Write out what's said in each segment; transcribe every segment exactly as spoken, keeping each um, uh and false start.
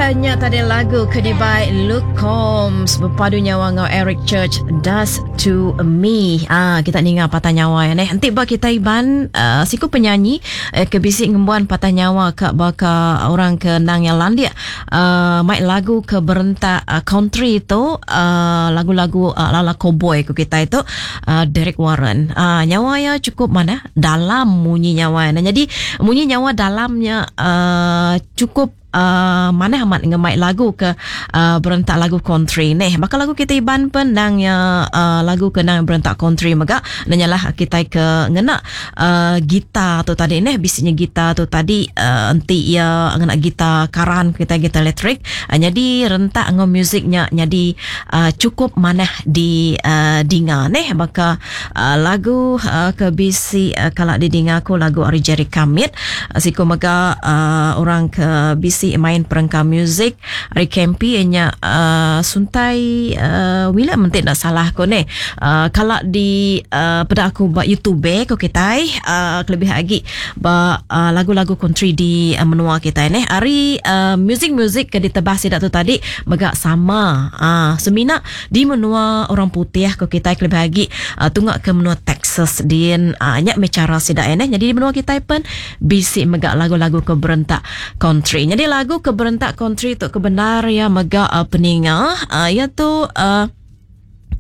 Nya tadi lagu ke dibai Luke Combs bepadu nyawa ngau Eric Church, Does To Me. Ah, kita ninga patah nyawa ya neh. Enti ba kita Iban, uh, siku penyanyi eh, ke bisi ngembuan patah nyawa ke baka orang ke nang yang landik uh, mai lagu ke berentak uh, country tu, uh, lagu-lagu uh, lala cowboy ku kita itu, uh, Derek Warren. Uh, nyawa ya cukup mana dalam munyi nyawa. Nah, jadi munyi nyawa dalamnya uh, cukup Uh, mana amat ngemai lagu ke uh, berentak lagu country neh. Bakal lagu kita Iban pun nang ya, uh, lagu ke nang berentak country mega nanyalah kita ke ngena uh, gitar tu tadi neh, bisinya gitar tu tadi, uh, enti ya ngena gitar karan kita, gitar elektrik, uh, jadi rentak ngau musiknya jadi uh, cukup manah di uh, dinga neh. Baka uh, lagu uh, ke bisi uh, kalau didinga aku lagu ari Jerry Kamit, uh, siku mega uh, orang ke bisi main perengka muzik ari Kempi nya, uh, Suntai uh, William mentik nak salah aku ni. Uh, kalau di uh, pada aku buat YouTube ko kita, uh, kelebih lagi ba uh, lagu-lagu country di uh, menua kita ni, ari uh, muzik-muzik ke ditebah sidak tu tadi mega sama, uh, semina di menua orang putih ko kita, kelebih lagi uh, tunggak ke menua Texas din, uh, nya me cara sidak ni. Jadi di menua kita pun bisi mega lagu-lagu ke berentak country. Jadi lagu ke berentak country tu kebenar ya mega uh, peninga, uh, ya tu uh,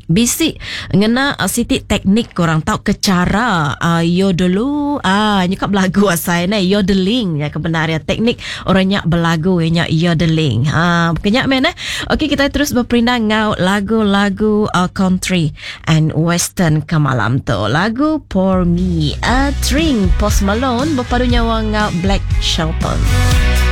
bisi ngena uh, siti teknik korang tahu ke cara uh, yodelu, ah uh, nyekap lagu asai ne yodeling ya kebenar ya, teknik orangnya belagu ya yodeling. Ah uh, kenyak men eh. Okey, kita terus berperindang ngau lagu-lagu uh, country and western ke malam tu. Lagu Pour Me a Drink, Post Malone berpadu nyawa ngau Blake Shelton.